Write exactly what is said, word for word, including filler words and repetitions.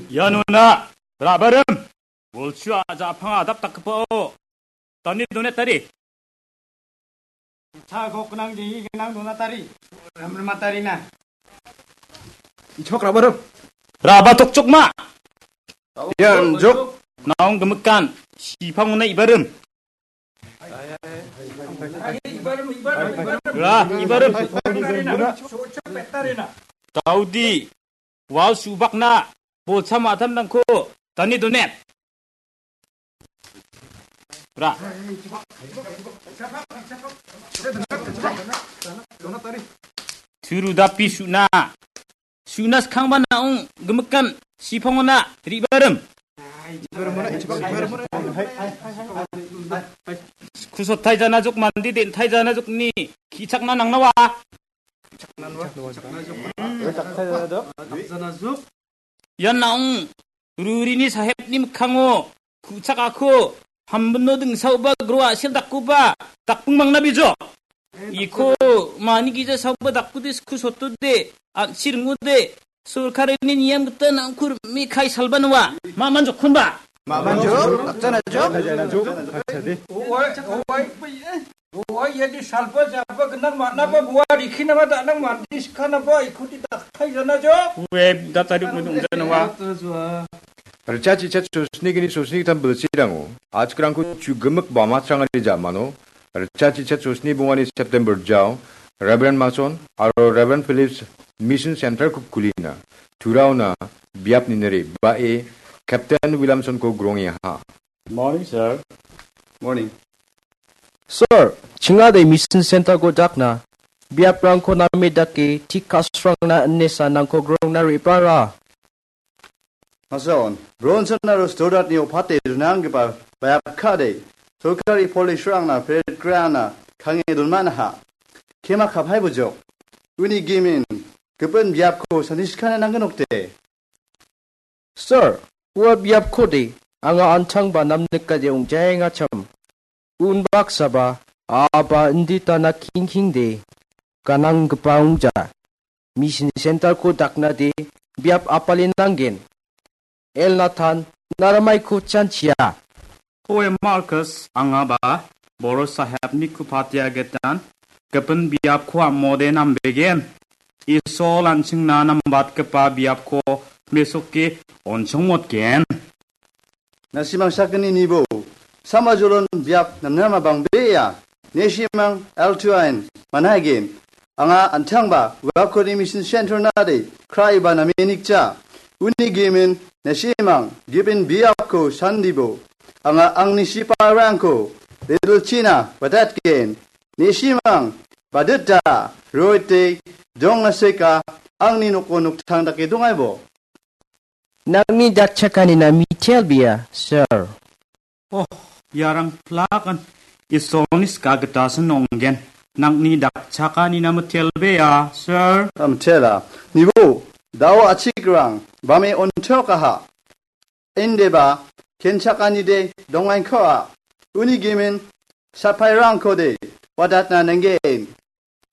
Ianona, ra·barim, bolchu a-, ja·pang adap dakgipao, dane donetari. Cha gok gnang, jeni gnang donatari. Ramrimatarina. Ichok ra·barim. Ra·ba tokchokma. Ian jok. Naong gimikan, sipangona ibarim. Ra, ibarim. Daudi, wal subakna, bolcha ma·atamrangko dane donet. Ra. Turu dapi su·na. Su·na skangba naong gimikan sipangona ribarim. Kusotai janajok mande den·tai janajokni ki·chakna nangnawa. Ian naong rurini sahepni mikkango ku·chakako hambino dingsaoba gro a·sel dakkoba dakping mangna bijok. Iko mani gija saoba dakkude sku sotode an·chi ringode sorkarini niam gita nangkur mi kai salba noa. Ma·man jokkonba. Ma·man jok, dakjana jok. Owai, owai. Ua iadi salba jaba gnang man·aba ua rikinaba da·nang mande sikanaba ikuti daktai jana jo. Ue datari unut ong·janawa. Ritchati chat sosni gni sosni gittam bilsirango achikrangko chu gimik ba matrangani ja·mano ritchati chat sosni bongani September jao Reverend Mason aro Reverend Phillips Mission Center-ko kulina turaona biap ninere ba·e Captain Williamson-ko grongengaha. Morning, sir. Morning. Sir, chingade Mission Center-ko dakna, biaprangko name dake, tik ka·srangna inesa nangko grongna re·bara. Mason, Bronson aro Stoddart-ni opate rinanggipa biap ka·de, sorkari polisrangna perit grana kange donmanaha. Kema kapai bojok. Uni gimin, gipin biapko saniskana nanggen okde. Sir, ua biapkode anga antangba namnikade ong·jaengachim. Unbaksaba aba inditana kingkingde gananggipa ong·ja. Mission Center-ko daknade biap apali nanggen. El Nathan, naramaiko chanchia. Oe Marcus, angaba Boro Sahebni kupatia getan gipin biapko amode nambegen. Isol an·chingna nambatgipa biapko mesoke on·chongmotgen. Nasimang sakgni nibo, samajolon biap namnama bang·bea. Nesimang L two ain manaigen. Anga antangba uakode Mission Center nade kraiba name nikja. Uni gimin nesimang gipin biapko sandibo. Anga angni siparangko redilchina watatgen. Nesimang badita roite dongna seka angni noko noktang dake dongaibo. Nangni dakchakanina mitelbea, sir. Oh, iarang plakan Isolni ska gitasin ong·gen. Nangni dakchakanina mitelbea, sir. Mitela. Nibo, dao achikrang, bame ontokaha. Indeba, kenchakanide dongainkoa. Uni gimin, sapairangkode, wadatna nanggen.